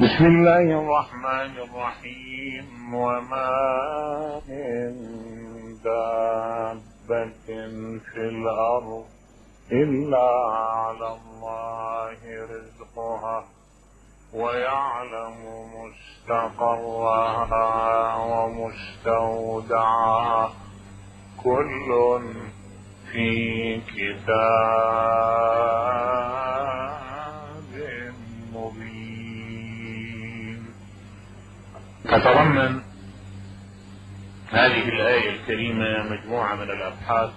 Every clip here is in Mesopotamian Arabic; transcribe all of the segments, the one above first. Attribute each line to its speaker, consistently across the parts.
Speaker 1: بسم الله الرحمن الرحيم. وما من دابة في الأرض إلا على الله رزقها ويعلم مستقرها ومستودعها كل في كتاب مبين. تتضمن هذه الآية الكريمة مجموعة من الأبحاث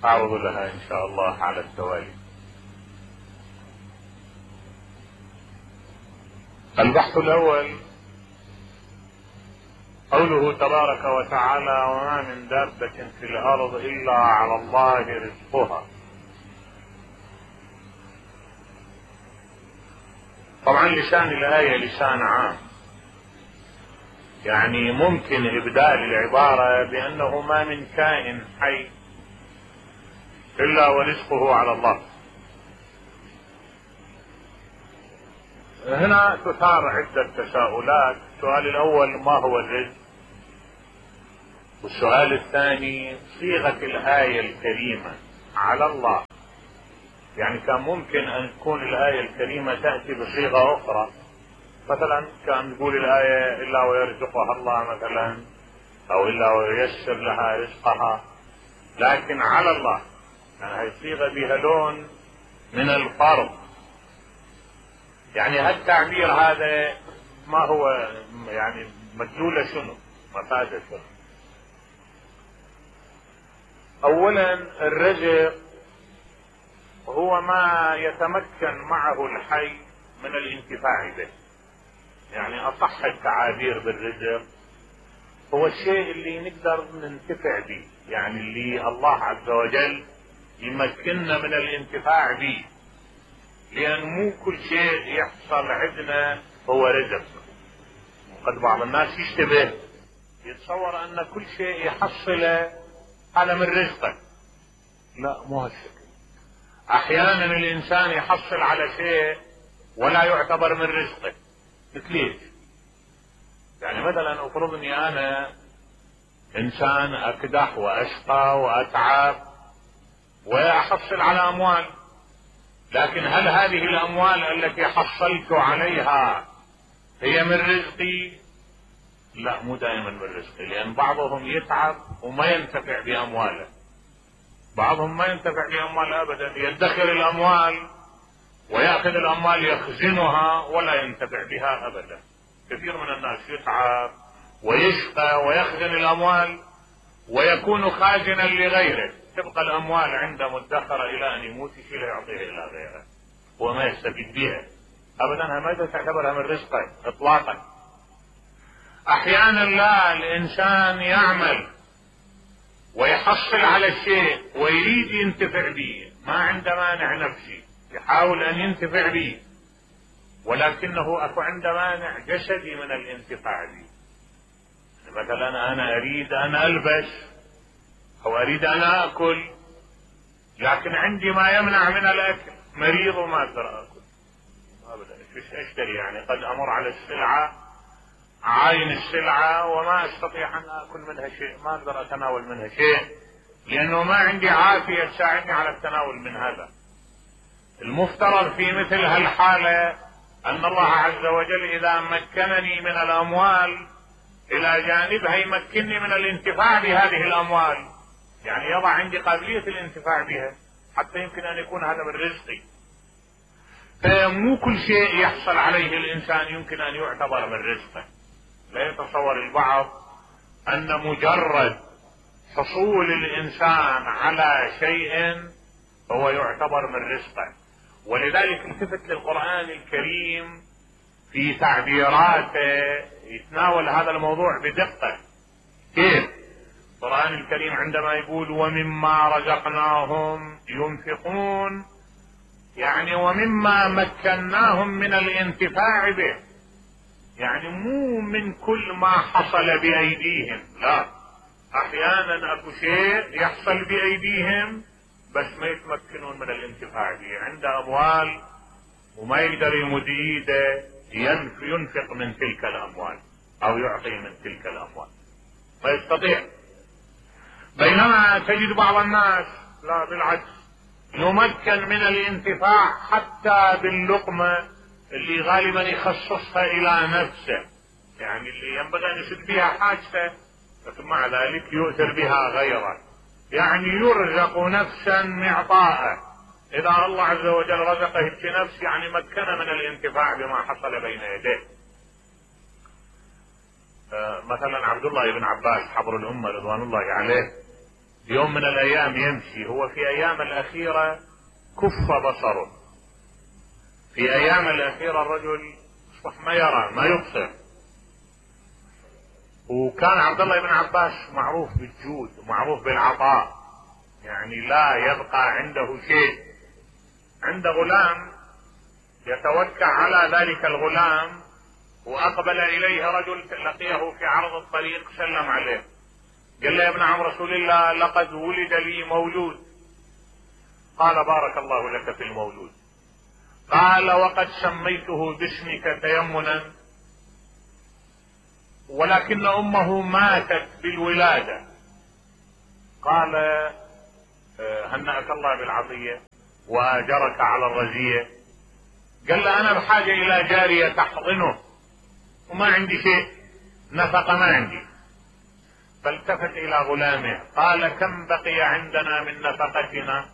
Speaker 1: أعرض لها إن شاء الله على التوالي. البحث الأول قوله تبارك وتعالى: وما من دابة في الأرض إلا على الله رزقها. طبعا لسان الآية لسان عام، يعني ممكن إبدال العبارة بأنه ما من كائن حي إلا ورزقه على الله. هنا تثار عدة تساؤلات. السؤال الأول: ما هو الرزق؟ والسؤال الثاني: صيغة الآية الكريمة على الله، يعني كان ممكن أن تكون الآية الكريمة تأتي بصيغة أخرى، مثلا كان تقول الآية إلا ويرزقها الله مثلا، أو إلا وييسر لها رزقها، لكن على الله يعني هي صيغة بها لون من الفرض. يعني هالتعبير هذا ما هو يعني مدلوله شنو؟ مفاده شنو؟ اولا الرزق هو ما يتمكن معه الحي من الانتفاع به. يعني اصح التعابير بالرزق هو الشيء اللي نقدر ننتفع به، يعني اللي الله عز وجل يمكننا من الانتفاع به، لأن مو كل شيء يحصل عندنا هو رزق. وقد بعض الناس يشتبه يتصور أن كل شيء يحصله هذا من رزقه. لا، مو هالشكل. أحيانا الإنسان يحصل على شيء ولا يعتبر من رزقه. مثل ايش؟ يعني مثلا افرضني أنا إنسان أكدح وأشقى وأتعب وأحصل على أموال، لكن هل هذه الأموال التي حصلت عليها هي من رزقي؟ لا، مو دائما من رزقي، لأن بعضهم يتعب وما ينتفع بأمواله، بعضهم ما ينتفع بأمواله أبدا، يدخر الأموال ويأخذ الأموال يخزنها ولا ينتفع بها أبدا. كثير من الناس يتعب ويشقى ويخزن الأموال ويكون خازنا لغيره، تبقى الأموال عنده مدخرة إلى أن يموت، يشيلها يعطيها إلى غيره وما يستفيد بها أبدا. ما تعتبرها من رزقه إطلاقا. أحيانا لا، الإنسان يعمل ويحصل على الشيء ويريد ينتفع به، ما عنده مانع نفسي، يحاول أن ينتفع به، ولكنه أكو عنده مانع جسدي من الانتفاع به. مثلا أنا أريد أن ألبس أو أريد أن أكل، لكن عندي ما يمنع من الأكل، مريض وما أقدر أكل أبدا. إيش أشتري؟ يعني قد أمر على السلعة، عاين السلعة وما أستطيع أن أكل منها شيء، ما أقدر أتناول منها شيء، لأنه ما عندي عافية تساعدني على التناول من هذا. المفترض في مثل هالحالة أن الله عز وجل إذا مكنني من الأموال إلى جانبها يمكنني من الانتفاع بهذه الأموال، يعني يضع عندي قابلية الانتفاع بها حتى يمكن أن يكون هذا من رزقي. فمو كل شيء يحصل عليه الإنسان يمكن أن يعتبر من رزقه. لا يتصور البعض أن مجرد حصول الإنسان على شيء هو يعتبر من رزقه. ولذلك التفت للقرآن الكريم في تعبيراته يتناول هذا الموضوع بدقة. كيف؟ القرآن الكريم عندما يقول ومما رزقناهم ينفقون، يعني ومما مكناهم من الانتفاع به، يعني مو من كل ما حصل بأيديهم، لا، أحيانا أكو شيء يحصل بأيديهم بس ما يتمكنون من الانتفاع به. عنده أموال وما يقدر يمد ايده ينفق من تلك الاموال او يعطي من تلك الاموال، ما يستطيع. بينما تجد بعض الناس لا، بالعكس، يمكن من الانتفاع حتى باللقمة اللي غالبا يخصصها الى نفسه، يعني اللي ينبغي ان يسد بها حاجته، لكن مع ذلك يؤثر بها غيره، يعني يرزق نفسا معطاءه. اذا الله عز وجل رزقه بنفس يعني مكنه من الانتفاع بما حصل بين يديه. مثلا عبد الله بن عباس حبر الامه رضوان الله عليه، يوم من الايام يمشي، هو في ايام الاخيره كف بصره، في ايام الاخيره الرجل اصبح ما يرى ما يبصر. وكان عبد الله بن عباس معروف بالجود ومعروف بالعطاء، يعني لا يبقى عنده شيء. عنده غلام يتوكع على ذلك الغلام، واقبل اليه رجل لقيه في عرض الطريق، سلم عليه، قال له يا ابن عم رسول الله لقد ولد لي مولود. قال بارك الله لك في المولود. قال وقد سميته باسمك تيمنا، ولكن امه ماتت بالولادة. قال هنأك الله بالعطية واجرك على الرزية. قال له انا بحاجة الى جارية تحضنه وما عندي شيء، نفقة ما عندي. فالتفت الى غلامه قال كم بقي عندنا من نفقتنا،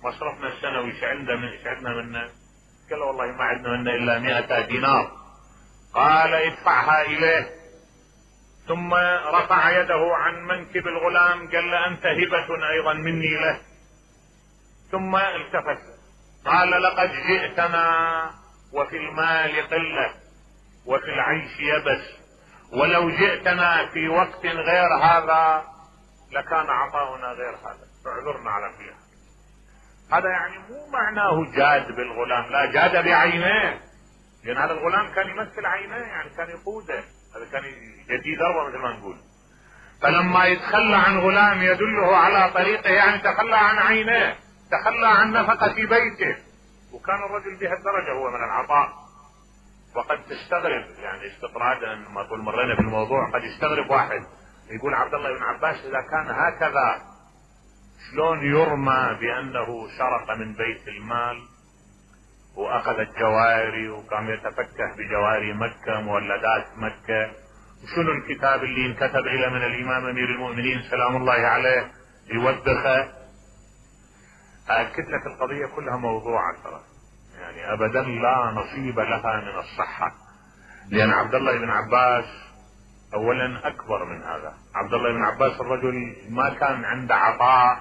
Speaker 1: مصرفنا السنوي ايش عندنا منه؟ قال له والله ما عندنا منه الا 100 دينار. قال ادفعها اليه. ثم رفع يده عن منكب الغلام قال له انت هبة ايضا مني له. ثم التفت قال لقد جئتنا وفي المال قلة وفي العيش يبس، ولو جئتنا في وقت غير هذا لكان عطاؤنا غير هذا، فاعذرنا على فيها. هذا يعني مو معناه جاد بالغلام، لا، جاد بعينيه، لان هذا الغلام كان يمثل عينيه، يعني كان يقوده، هذا كان يدي ضربه مثل ما نقول. فلما يتخلى عن غلام يدله على طريقه يعني تخلى عن عينيه، تخلى عن نفقة بيته. وكان الرجل بهالدرجة هو من العطاء. وقد تستغرب يعني استطرادا ما طول مرينا في الموضوع، قد يستغرب واحد يقول عبد الله بن عباس اذا كان هكذا شلون يرمى بانه سرق من بيت المال واخذ الجواري وقام يتفكه بجواري مكة مولدات مكة، وشنو الكتاب اللي انكتب الى من الامام امير المؤمنين سلام الله عليه يوبخه. كتلة القضية كلها موضوعة ترى، يعني ابدا لا نصيب لها من الصحة، لان عبد الله بن عباس اولا اكبر من هذا. عبد الله بن عباس الرجل ما كان عنده عطاء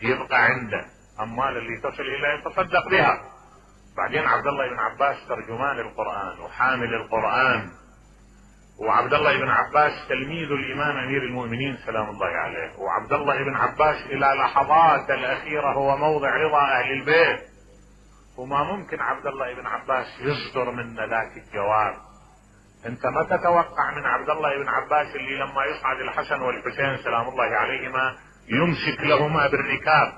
Speaker 1: يبقى عنده، اموال اللي تصل اليه يتصدق بها. بعدين عبد الله بن عباس ترجمان القرآن وحامل القرآن، وعبد الله بن عباس تلميذ الامام امير المؤمنين سلام الله عليه، وعبد الله بن عباس الى لحظات الاخيرة هو موضع رضا اهل البيت، وما ممكن عبد الله بن عباس يصدر من ذاك الجواب. انت ما تتوقع من عبد الله بن عباس اللي لما يصعد الحسن والحسين سلام الله عليهما يمسك لهما بالركاب،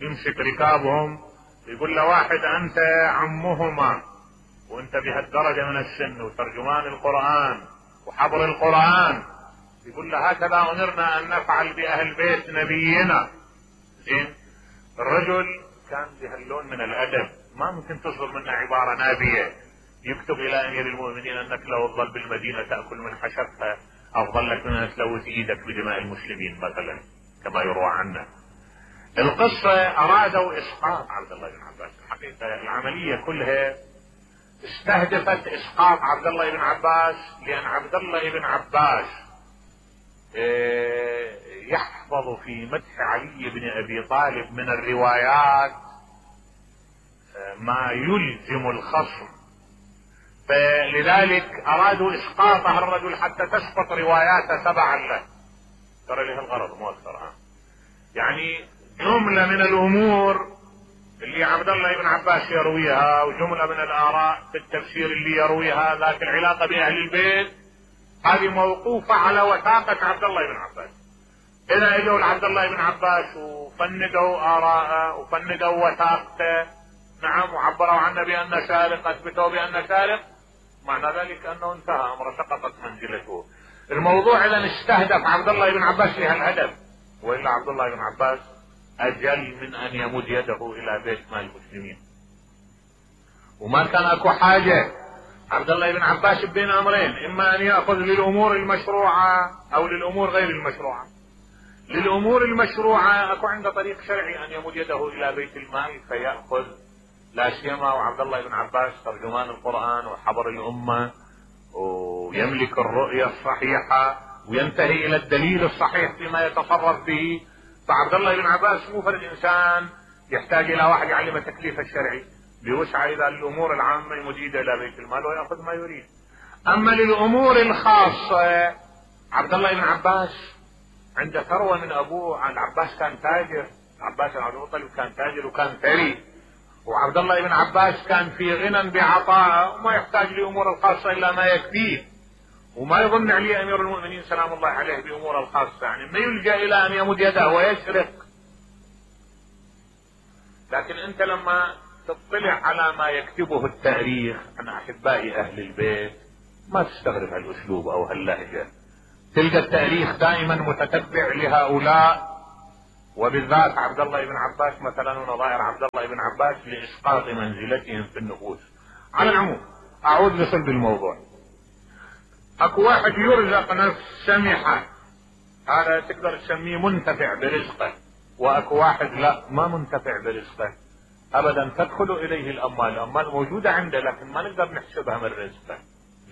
Speaker 1: يمسك ركابهم، يقول له واحد انت عمهما وانت بهالدرجة من السن وترجمان القرآن وحبر القرآن، يقول له هكذا امرنا ان نفعل باهل بيت نبينا. زين، الرجل كان بهاللون من الادب، ما ممكن تصدر منه عبارة نابية يكتب الى امير المؤمنين انك لو تظل بالمدينة تأكل من حشرتها افضل لك من ان تلوث ايدك بدماء المسلمين مثلا كما يروى عنه. القصة ارادوا اسقاط عبد الله بن عباس، الحقيقة العملية كلها استهدفت اسقاط عبد الله بن عباس، لان عبد الله بن عباس يحفظ في مدح علي بن ابي طالب من الروايات ما يلزم الخصم، فلذلك ارادوا اسقاط الرجل حتى تسقط رواياته تبعا له. ترى له الغرض مو اكثر. يعني جملة من الامور اللي عبد الله بن عباس يرويها وجملة من الاراء في التفسير اللي يرويها ذات العلاقة باهل البيت، هذه موقوفة على وثاقة عبد الله بن عباس. اذا اجوا لعبد الله بن عباس وفندوا اراءه وفندوا وثاقته، نعم، وعبروا عنه بانه سارق، اثبتوا بانه سارق، معنى ذلك انه انتهى امره، سقطت منزلته. الموضوع اذا استهدف عبد الله بن عباس لهالهدف، والا عبد الله بن عباس اجل من ان يمد يده الى بيت مال المسلمين، وما كان اكو حاجه عبد الله بن عباس بين امرين، اما ان ياخذ للامور المشروعه او للامور غير المشروعه. للامور المشروعه اكو عنده طريق شرعي ان يمد يده الى بيت المال فياخذ، لا سيما وعبد الله بن عباس ترجمان القران وحبر الامه ويملك الرؤيه الصحيحه وينتهي الى الدليل الصحيح فيما يتصرف به. فعبد الله بن عباس مو فرد انسان يحتاج الى واحد يعلم التكليف الشرعي، بوسع الى الامور العامه يمد يده الى بيت المال وياخذ ما يريد. اما للامور الخاصه عبد الله بن عباس عنده ثروه من ابوه. العباس كان تاجر، العباس بن عبد المطلب كان تاجر وكان ثري، وعبد الله بن عباس كان في غنى بعطاء وما يحتاج لامور الخاصه الا ما يكفيه، وما يظن عليه امير المؤمنين سلام الله عليه بامور الخاصه، يعني ما يلجا الى ان يمد يده ويسرق. لكن انت لما تطلع على ما يكتبه التاريخ عن احباء اهل البيت ما تستغرب هالاسلوب او هاللهجه، تلقى التاريخ دائما متتبع لهؤلاء، وبالذات عبد الله بن عباس مثلا ونظائر عبد الله بن عباس لاسقاط منزلتهم في النفوس. على العموم اعود لصلب الموضوع. اكو واحد يرزق نفس سمحه، هذا تقدر تسميه منتفع برزقه، واكو واحد لا ما منتفع برزقه ابدا، تدخل اليه الاموال، الاموال موجوده عنده لكن ما نقدر نحسبها من رزقه.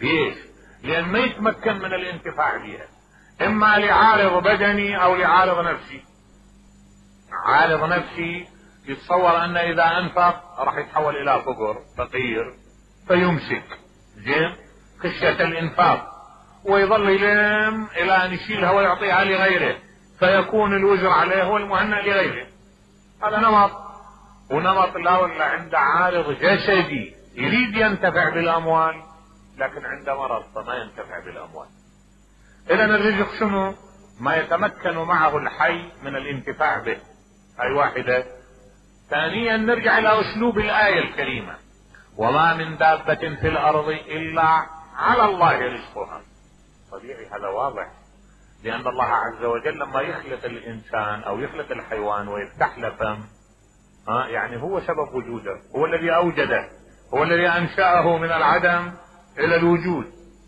Speaker 1: ليش؟ لان ما يتمكن من الانتفاع بها، اما لعارض بدني او لعارض نفسي. عارض نفسي يتصور ان اذا انفق راح يتحول الى فقير فيمسك زين خشيه الانفاق، ويظل يلم الى ان يشيلها ويعطيها لغيره فيكون الوزر عليه والمهنأ لغيره. هذا نمط. ونمط لا ولا عنده عارض جسدي يريد ينتفع بالاموال لكن عنده مرض فما ينتفع بالاموال. اذا الرزق شنو؟ ما يتمكن معه الحي من الانتفاع به، هاي واحدة. ثانيا نرجع الى اسلوب الآية الكريمة: وما من دابة في الارض الا على الله رزقها. طبيعي هذا واضح، لان الله عز وجل لما يخلق الانسان او يخلق الحيوان ويفتح له فم يعني هو سبب وجوده، هو الذي اوجده، هو الذي انشأه من العدم الى الوجود،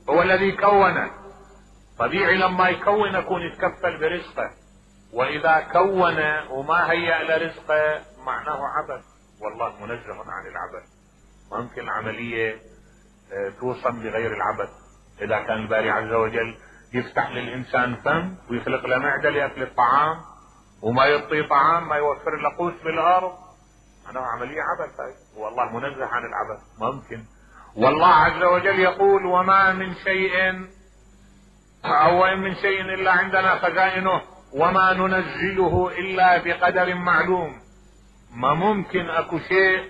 Speaker 1: هو الذي كونه. طبيعي لما يكون يكون يتكفل برزقه، واذا كون وما هيأ لرزقه معناه عبث، والله منزه عن العبث. ممكن العملية توصل بغير العبث. اذا كان الباري عز وجل يفتح للانسان فم ويخلق له معدة لاكل الطعام وما يعطيه طعام، ما يوفر له قوت بالارض، معناه عملية عبث هاي، والله منزه عن العبث. ممكن. والله عز وجل يقول: وما من شيء او ان من شيء الا عندنا خزائنه وما ننزله الا بقدر معلوم. ما ممكن اكو شيء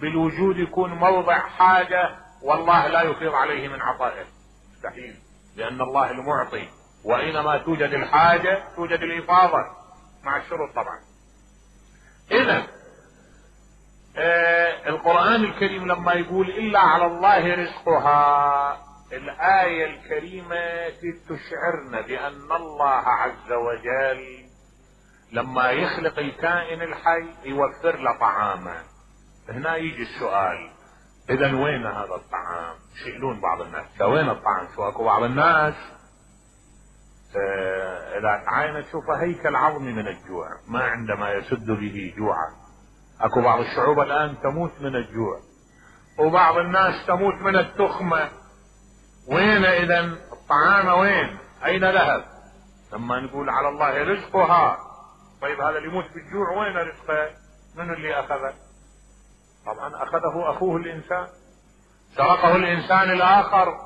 Speaker 1: بالوجود يكون موضع حاجة والله لا يفيض عليه من عطائه، مستحيل، لان الله المعطي، واينما توجد الحاجة توجد الافاضة مع الشروط طبعا. اذا القرآن الكريم لما يقول الا على الله رزقها، الآية الكريمة تشعرنا بأن الله عز وجل لما يخلق الكائن الحي يوفر له طعامه. هنا يجي السؤال: إذا وين هذا الطعام؟ يسألون بعض الناس: وين الطعام؟ شو اكو بعض الناس إذا تعاين تشوفه هيكل عظمي من الجوع، ما عنده ما يسد به جوعه. اكو بعض الشعوب الآن تموت من الجوع، وبعض الناس تموت من التخمة. وين اذا الطعام؟ وين؟ اين ذهب؟ لما نقول على الله رزقها، طيب هذا اللي يموت بالجوع وين رزقه؟ من اللي اخذه؟ طبعا اخذه اخوه الانسان، سرقه الانسان الاخر،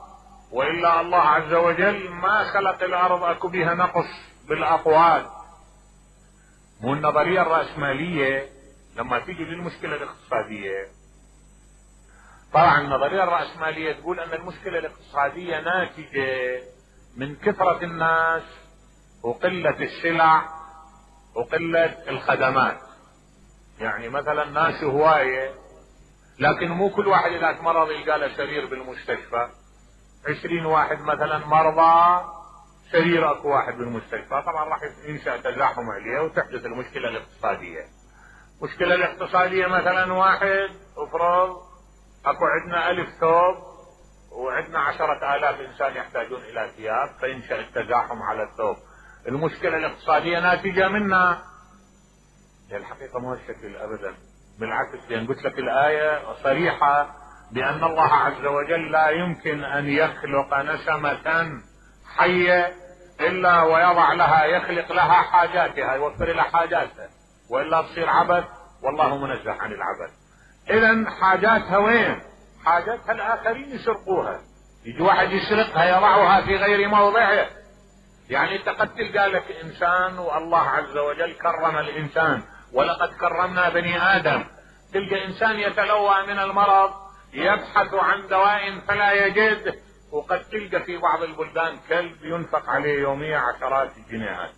Speaker 1: والا الله عز وجل ما خلق الارض اكو بها نقص بالاقوال. مو النظرية الرأسمالية لما تيجي للمشكلة الاقتصادية، طبعا النظرية الرأسمالية تقول ان المشكلة الاقتصادية ناتجة من كثرة الناس وقلة السلع وقلة الخدمات. يعني مثلا ناس هواية لكن مو كل واحد اذا مرض يلقى له سرير بالمستشفى، 20 واحد مثلا مرضى، سرير اكو واحد بالمستشفى، طبعا راح ينشأ تزاحم عليه وتحدث المشكلة الاقتصادية. المشكلة الاقتصادية مثلا واحد افرض اكو عندنا 1000 ثوب وعندنا 10,000 انسان يحتاجون الى ثياب، فينشأ التزاحم على الثوب. المشكلة الاقتصادية ناتجة منها. الحقيقة مو هالشكل ابدا، بالعكس، لان قلت لك الآية صريحة بان الله عز وجل لا يمكن ان يخلق نسمة حية الا ويضع لها، يخلق لها حاجاتها، يوفر لها حاجاتها، والا تصير عبث، والله منزه عن العبث. اذا حاجاتها وين؟ حاجاتها الاخرين يسرقوها، يجي واحد يسرقها يضعها في غير موضعه. يعني انت قد تلقى لك انسان والله عز وجل كرم الانسان، ولقد كرمنا بني ادم، تلقى انسان يتلوى من المرض يبحث عن دواء فلا يجد، وقد تلقى في بعض البلدان كلب ينفق عليه يوميا عشرات الجنيهات.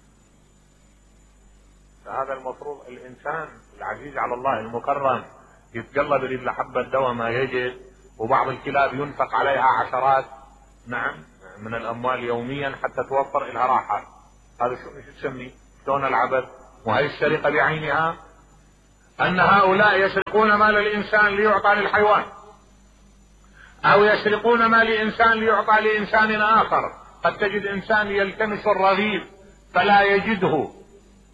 Speaker 1: فهذا المفروض الانسان العزيز على الله المكرم يتقلب يريد لحبة دواء ما يجد، وبعض الكلاب ينفق عليها عشرات من الاموال يوميا حتى توفر لها راحة. هذا شو تسميه؟ شلون العبث؟ وهي السرقة بعينها. ان هؤلاء يسرقون مال الانسان ليعطى للحيوان، او يسرقون مال الانسان ليعطى لانسان اخر. قد تجد انسان يلتمس الرغيف فلا يجده،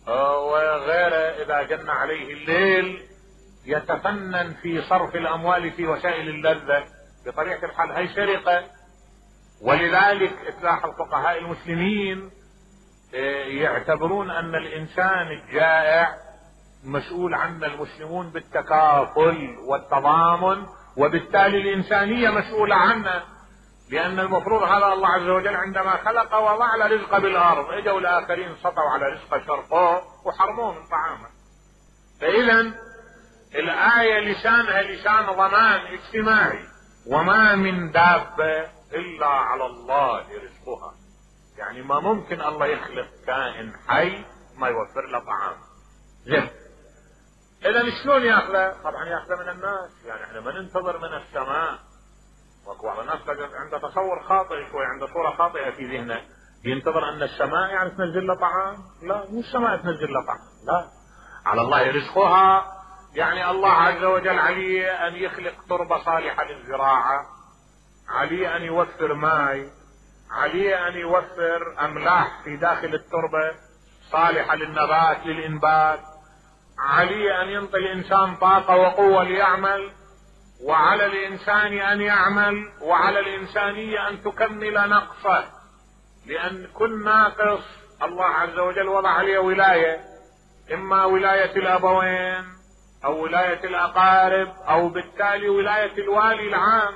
Speaker 1: وغيره اذا جن عليه الليل يتفنن في صرف الاموال في وسائل اللذة. بطبيعة الحال هي سرقة. ولذلك تلاحظ فقهاء المسلمين يعتبرون ان الانسان الجائع مسؤول عنه المسلمون بالتكافل والتضامن، وبالتالي الانسانية مسؤولة عنه، لان المفروض هذا الله عز وجل عندما خلق وضع له رزق بالارض، اجوا الاخرين سطوا على رزقه شرقوه وحرموه من طعامه. فاذا الآية لسانها لسان ضمان اجتماعي، وما من دابة الا على الله رزقها. يعني ما ممكن الله يخلق كائن حي ما يوفر له طعام. زين، اذا شلون ياخذه؟ طبعا ياخذه من الناس. يعني احنا ما ننتظر من السماء. وبعض الناس عنده تصور خاطئ شوي، عنده صورة خاطئة في ذهنه، ينتظر ان السماء يعني تنزل له طعام. لا، مو السماء تنزل له طعام، لا، على الله رزقها. يعني الله عز وجل عليه ان يخلق تربة صالحة للزراعة، عليه ان يوفر ماء، عليه ان يوفر املاح في داخل التربة صالحة للنبات للانبات، عليه ان ينطي الانسان طاقة وقوة ليعمل، وعلى الانسان ان يعمل، وعلى الانسانية ان تكمل نقصه، لان كل ناقص الله عز وجل وضع عليه ولاية، اما ولاية الابوين او ولاية الاقارب، او بالتالي ولاية الوالي العام.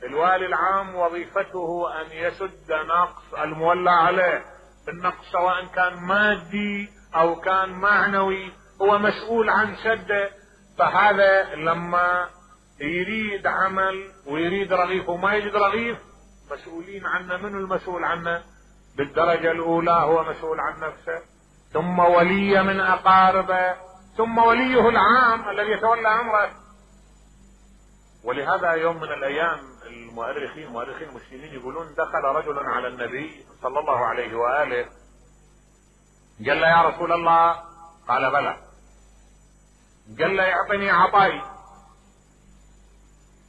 Speaker 1: الوالي العام وظيفته ان يسد نقص المولى عليه. النقص سواء كان مادي او كان معنوي هو مسؤول عن سده. فهذا لما يريد عمل ويريد رغيف وما يجد رغيف، مسؤولين عنه. من المسؤول عنه؟ بالدرجة الاولى هو مسؤول عن نفسه، ثم ولي من اقاربه، ثم وليه العام الذي يتولى امره. ولهذا يوم من الايام مؤرخين المسلمين يقولون دخل رجل على النبي صلى الله عليه واله، قال له: يا رسول الله. قال: بلى. قال له: اعطني عطائي.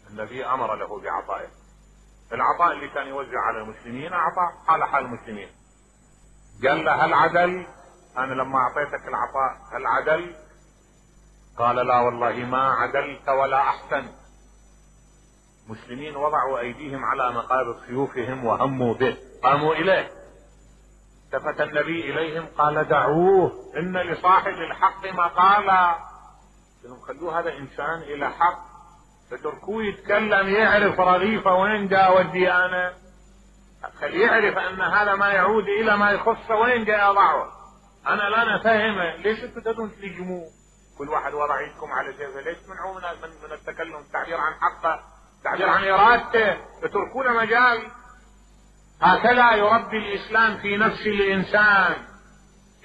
Speaker 1: النبي امر له بعطائه. العطاء اللي كان يوزع على المسلمين عطاء حال حال المسلمين. قال له: هل عدل؟ انا لما اعطيتك العطاء هل عدل؟ قال: لا والله ما عدلت ولا احسنت. مسلمين وضعوا ايديهم على مقابض سيوفهم وهموا به، قاموا اليه. التفت النبي اليهم قال: دعوه، ان لصاحب الحق مقالا. لهم خلوه هذا انسان الى حق، فتركوه يتكلم، يعرف رغيفه وين جاء ودي انا، خليه يعرف ان هذا ما يعود الى ما يخصه وين جاء يضعه. انا لا نفهمه، ليش انتم تدون تلجموه؟ كل واحد وضع يدكم على سيفه، ليش تمنعوه من التكلم، التعبير عن حقه، التعبير عن ارادته، تتركون مجال. هكذا يربي الاسلام في نفس الانسان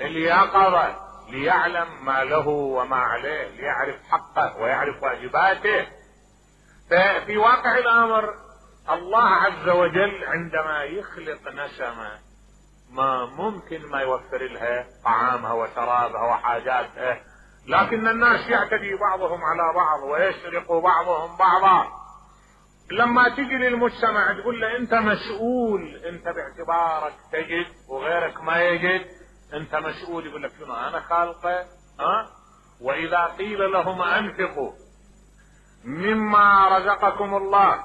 Speaker 1: اليقظة، ليعلم ما له وما عليه، ليعرف حقه ويعرف واجباته. ففي واقع الامر الله عز وجل عندما يخلق نسمة ما ممكن ما يوفر لها طعامها وشرابها وحاجاتها، لكن الناس يعتدي بعضهم على بعض ويسرق بعضهم بعضا. لما تجي للمجتمع تقول له انت مسؤول، انت باعتبارك تجد وغيرك ما يجد، انت مسؤول. يقول لك شنو انا خالقه؟ واذا قيل لهم انفقوا مما رزقكم الله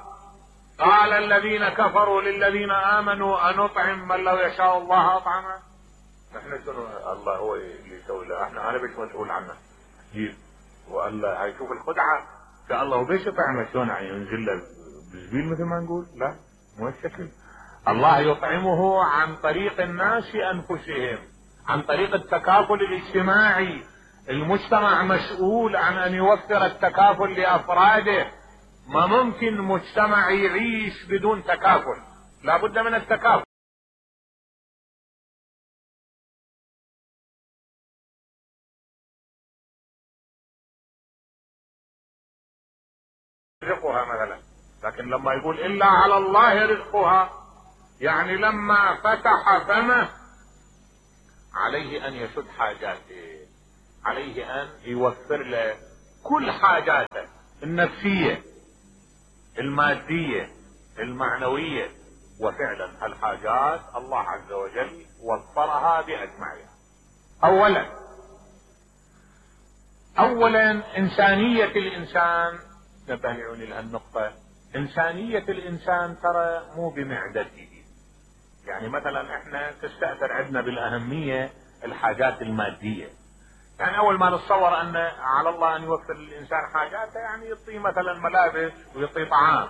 Speaker 1: قال الذين كفروا للذين امنوا انطعم من لو يشاء الله اطعمه. احنا شنو الله هو اللي يسوي له؟ انا بيش مسؤول عنه. والله هاي شوف الخدعه، قال الله وبيش يطعمه شلون ينزل له بزبيل مثل ما نقول؟ لا مو الشكل. الله يطعمه عن طريق الناس انفسهم، عن طريق التكافل الاجتماعي. المجتمع مسؤول عن ان يوفر التكافل لافراده. ما ممكن مجتمع يعيش بدون تكافل، لا بد من التكافل. رزقها مثلا، لكن لما يقول الا على الله رزقها يعني لما فتح فمه عليه ان يسد حاجاته، عليه ان يوفر له كل حاجاته النفسيه الماديه المعنويه. وفعلا الحاجات الله عز وجل وفرها باجمعها. اولا انسانيه الانسان، نبهني لهالنقطه. انسانيه الانسان ترى مو بمعدته. يعني مثلا احنا تستأثر عندنا بالاهميه الحاجات الماديه. يعني اول ما نتصور ان على الله ان يوفر للانسان حاجاته يعني يعطيه مثلا ملابس ويعطيه طعام،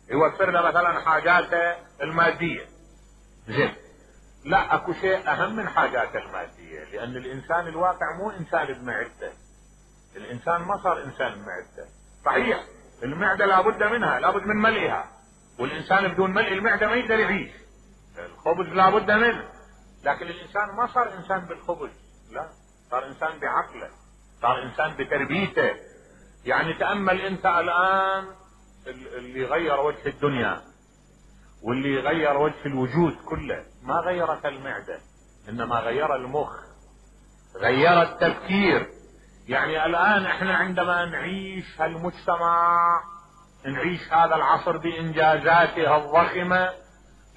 Speaker 1: يوفر له مثلا حاجاته الماديه. زين، لا، اكو شيء اهم من حاجاته الماديه، لان الانسان الواقع مو انسان بمعدته. الانسان ما صار انسان بمعدته. صحيح المعده لابد منها، لابد من ملئها، والانسان بدون ملء المعده ما يقدر يعيش. الخبز لابد منه، لكن الانسان ما صار انسان بالخبز، لا، صار انسان بعقله، صار انسان بتربيته. يعني تأمل انت الان اللي غير وجه الدنيا واللي غير وجه الوجود كله ما غيرت المعدة، انما غير المخ، غير التفكير. يعني الان احنا عندما نعيش هالمجتمع، نعيش هذا العصر بانجازاته الضخمة،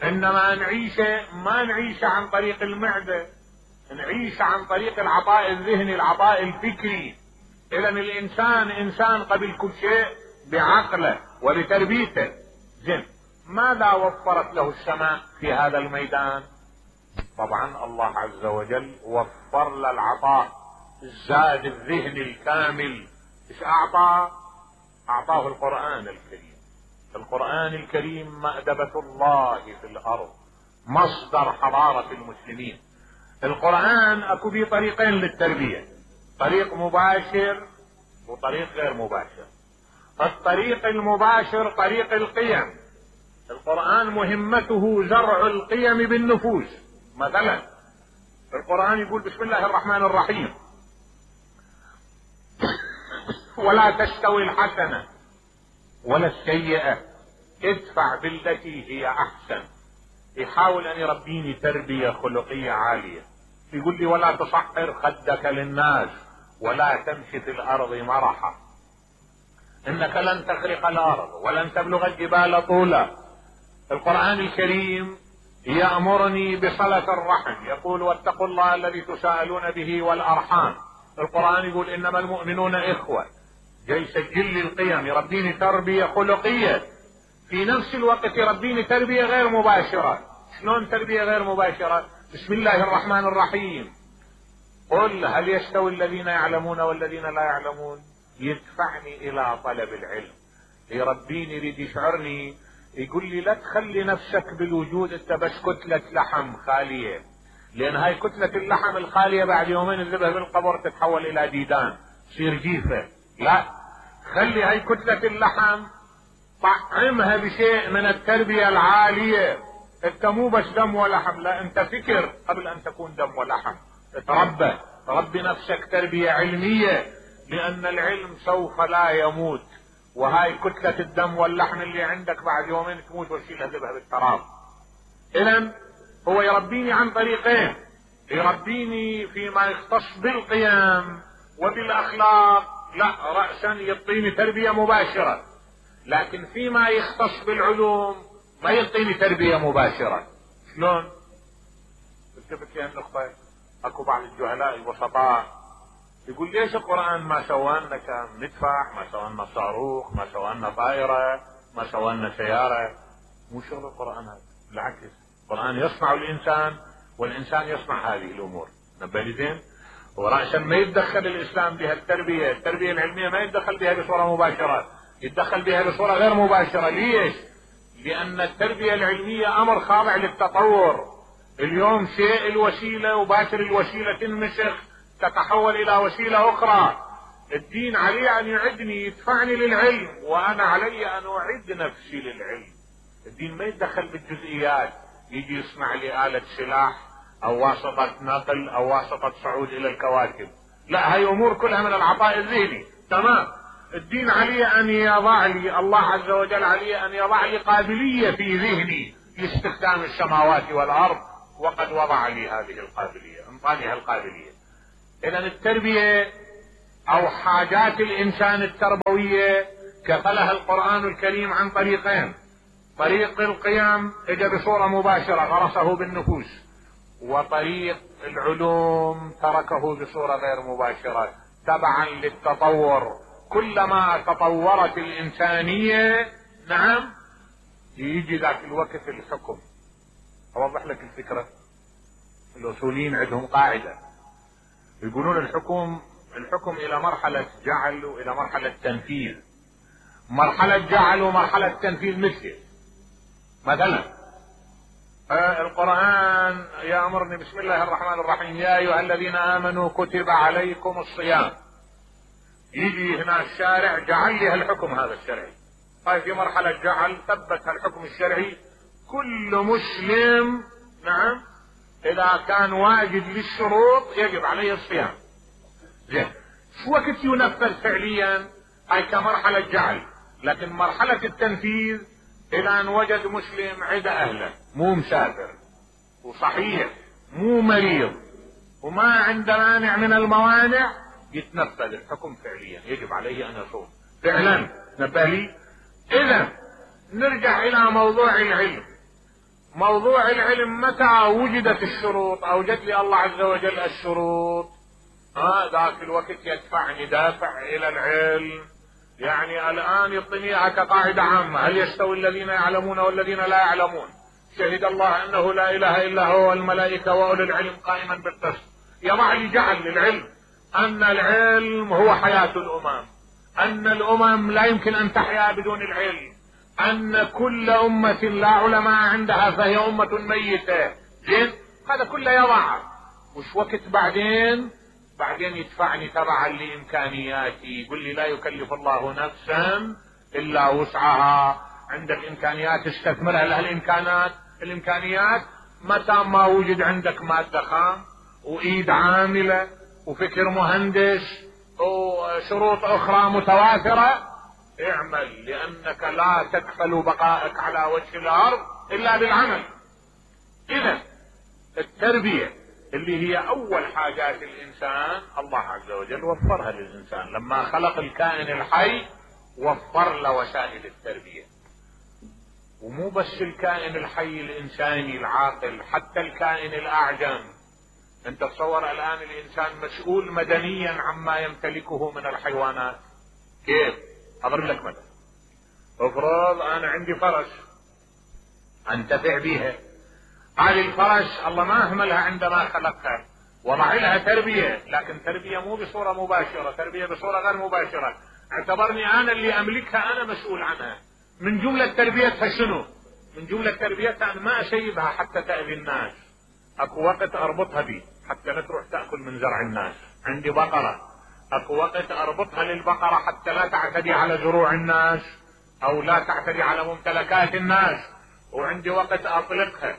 Speaker 1: انما نعيشه ما نعيشه عن طريق المعدة، نعيش عن طريق العطاء الذهني، العطاء الفكري. اذا الانسان انسان قبل كل شيء بعقله وبتربيته. زين، ماذا وفرت له السماء في هذا الميدان؟ طبعا الله عز وجل وفر له العطاء الزاد الذهني الكامل. ايش اعطاه؟ اعطاه القرآن الكريم. القرآن الكريم مأدبة الله في الارض، مصدر حضارة المسلمين. القرآن اكو به طريقين للتربية، طريق مباشر وطريق غير مباشر. الطريق المباشر طريق القيم. القرآن مهمته زرع القيم بالنفوس. مثلا القرآن يقول بسم الله الرحمن الرحيم ولا تستوي الحسنة ولا السيئة ادفع بالتي هي احسن. يحاول ان يربيني تربية خلقية عالية. يقول لي ولا تصحر خدك للناس ولا تمشي في الارض مرحا انك لن تخرق الارض ولن تبلغ الجبال طولا. القرآن الكريم يأمرني بصلة الرحم، يقول واتقوا الله الذي تساءلون به والارحام. القرآن يقول انما المؤمنون اخوة. جاي يسجل لي القيم، يربيني تربية خلقية، في نفس الوقت يربيني تربية غير مباشرة. شلون تربية غير مباشرة؟ بسم الله الرحمن الرحيم قل هل يستوي الذين يعلمون والذين لا يعلمون. يدفعني الى طلب العلم، يربيني، يريد يشعرني، يقول لي لا تخلي نفسك بالوجود انت بس كتلة لحم خالية، لان هاي كتلة اللحم الخالية بعد يومين تذبها بالقبر تتحول الى ديدان تصير جيفة. لا، خلي هاي كتلة اللحم طعمها بشيء من التربية العالية. انت مو بس دم ولحم، لا، انت فكر قبل ان تكون دم ولحم. تربي نفسك تربية علمية، لان العلم سوف لا يموت وهاي كتلة الدم واللحم اللي عندك بعد يومين تموت وتشيلها ذبها بالتراب. اذا هو يربيني عن طريقين، يربيني فيما يختص بالقيم وبالاخلاق، لا رأسا يعطيني تربية مباشرة، لكن فيما يختص بالعلوم ما يعطيني تربية مباشرة. شلون؟ التفت لي النقطة. اكو بعض الجهلاء البسطاء يقول ليش القرآن ما سوى لنا مدفع، ما سوى لنا صاروخ، ما سوى لنا طائرة، ما سوى لنا سيارة. مو شغل القرآن هذا، بالعكس القرآن يصنع الانسان والانسان يصنع هذه الامور. نبالي زين؟ ورأسا ما يتدخل الاسلام بها التربية العلمية ما يتدخل بها بصورة مباشرة، يتدخل بها بصورة غير مباشرة. ليش؟ لان التربية العلمية امر خاضع للتطور. اليوم شيء الوسيلة وباكر الوسيلة تنمسخ تتحول الى وسيلة اخرى. الدين علي ان يعدني يدفعني للعلم، وانا علي ان اعد نفسي للعلم. الدين ما يتدخل بالجزئيات، يجي يصنع لي آلة سلاح او واسطة نقل او واسطة صعود الى الكواكب. لا، هاي امور كلها من العطاء الذهني. تمام. الدين علي ان يضع لي، الله عز وجل علي ان يضع لي قابلية في ذهني لاستخدام السماوات والارض، وقد وضع لي هذه القابلية، انطاني هالقابلية. اذا التربية او حاجات الانسان التربوية كفلها القرآن الكريم عن طريقين. طريق القيم اجى بصورة مباشرة غرسه بالنفوس، وطريق العلوم تركه بصورة غير مباشرة تبعا للتطور. كلما تطورت الانسانية نعم يجي ذاك الوقت الحكم. اوضح لك الفكرة. الاصوليين عندهم قاعدة يقولون الحكم الى مرحلة جعل والى مرحلة تنفيذ. مرحلة جعل ومرحلة تنفيذ مثلا القرآن يأمرني بسم الله الرحمن الرحيم يا ايها الذين امنوا كتب عليكم الصيام. يجي هنا الشارع جعل لي الحكم هذا الشرعي. هاي في مرحلة جعل ثبت الحكم الشرعي. كل مسلم نعم اذا كان واجد للشروط يجب عليه الصيام. زين، شو وقت ينفذ فعليا؟ هاي كمرحلة جعل. لكن مرحلة التنفيذ اذا ان وجد مسلم عدا اهله، مو مسافر وصحيح مو مريض وما عنده مانع من الموانع، يتنفذ الحكم فعليا، يجب عليه ان يصوم فعلا. نبه لي. اذا نرجع الى موضوع العلم. موضوع العلم متى وجدت الشروط؟ اوجد لي الله عز وجل الشروط، ذاك الوقت يدفعني دافع الى العلم. يعني الان يعطيني كقاعدة عامة: هل يستوي الذين يعلمون والذين لا يعلمون؟ شهد الله انه لا اله الا هو والملائكة واولو العلم قائما بالقسط. يضع لي جعل للعلم ان العلم هو حياة الامم، ان الامم لا يمكن ان تحيا بدون العلم، ان كل امة لا علماء عندها فهي امة ميتة. زين، هذا كله يضع. وش وقت بعدين يدفعني تبعا لامكانياتي. يقول لي لا يكلف الله نفسا الا وسعها. عندك امكانيات استثمرها لها. الامكانيات متى ما وجد عندك مادة خام وايد عاملة وفكر مهندس وشروط اخرى متوافرة، اعمل، لانك لا تكفل بقائك على وجه الارض الا بالعمل. اذا التربية اللي هي اول حاجات الانسان الله عز وجل وفرها للانسان. لما خلق الكائن الحي وفر له وسائل التربية. ومو بس الكائن الحي الانساني العاقل، حتى الكائن الاعجم. انت تصور الان الانسان مسؤول مدنيا عما يمتلكه من الحيوانات. كيف؟ اضرب لك مثل. افرض انا عندي فرس انتفع بها. هذه الفرس الله ما اهملها عندما خلقها، وضع لها تربية، لكن تربية مو بصورة مباشرة، تربية بصورة غير مباشرة. اعتبرني انا اللي املكها، انا مسؤول عنها. من جملة تربيتها شنو؟ من جملة تربيتها ان ما اسيبها حتى تأذي الناس. اكو وقت اربطها بي حتى لا تروح تأكل من زرع الناس. عندي بقرة، اكو وقت اربطها للبقرة حتى لا تعتدي على زروع الناس او لا تعتدي على ممتلكات الناس. وعندي وقت اطلقها.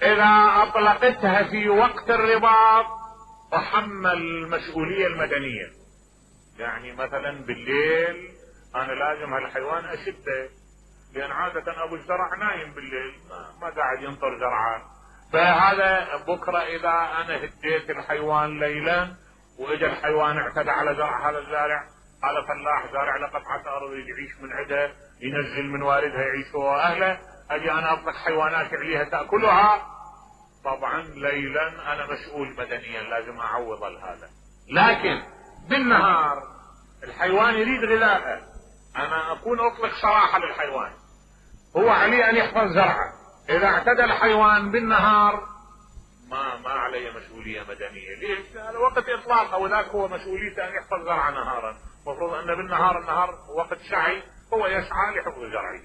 Speaker 1: اذا اطلقتها في وقت الرباط احمل المسؤولية المدنية. يعني مثلا بالليل انا لازم هالحيوان اشده، لان عادة ابو الزرع نايم بالليل ما قاعد ينطر زرعه. فهذا بكرة اذا انا هديت الحيوان ليلا واجا الحيوان اعتدى على زرع هذا الزارع، هذا فلاح زارع له قطعة ارض يعيش من عده، ينزل من واردها يعيش هو واهله، اجي انا اطلق حيوانات عليها تاكلها، طبعا ليلا انا مسؤول مدنيا لازم اعوض هذا. لكن بالنهار الحيوان يريد غذاءه، انا اكون اطلق صراحة للحيوان، هو عليه ان يحفظ زرعه، اذا اعتدى الحيوان بالنهار ما عليه مسؤولية مدنية. ليش؟ هذا وقت اطلاقه، وذاك هو مسؤوليته ان يحفظ زرعه نهارا، المفروض ان النهار وقت سعي، هو يسعى لحفظ زرعه.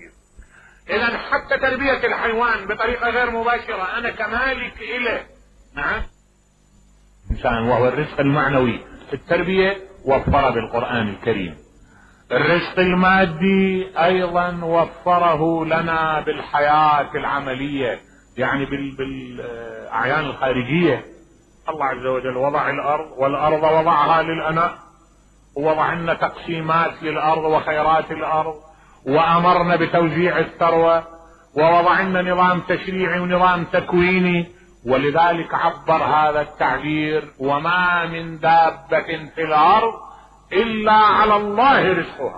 Speaker 1: اذا حتى تربية الحيوان بطريقة غير مباشرة انا كمالك اله. نعم، انسان وهو الرزق المعنوي في التربية وفر بالقرآن الكريم. الرزق المادي ايضا وفره لنا بالحياة العملية، يعني بالاعيان الخارجية. الله عز وجل وضع الارض، والارض وضعها للانام، ووضع لنا تقسيمات للارض وخيرات الارض، وامرنا بتوزيع الثروة، ووضع لنا نظام تشريعي ونظام تكويني، ولذلك عبر هذا التعبير: وما من دابة في الارض الا على الله رزقها.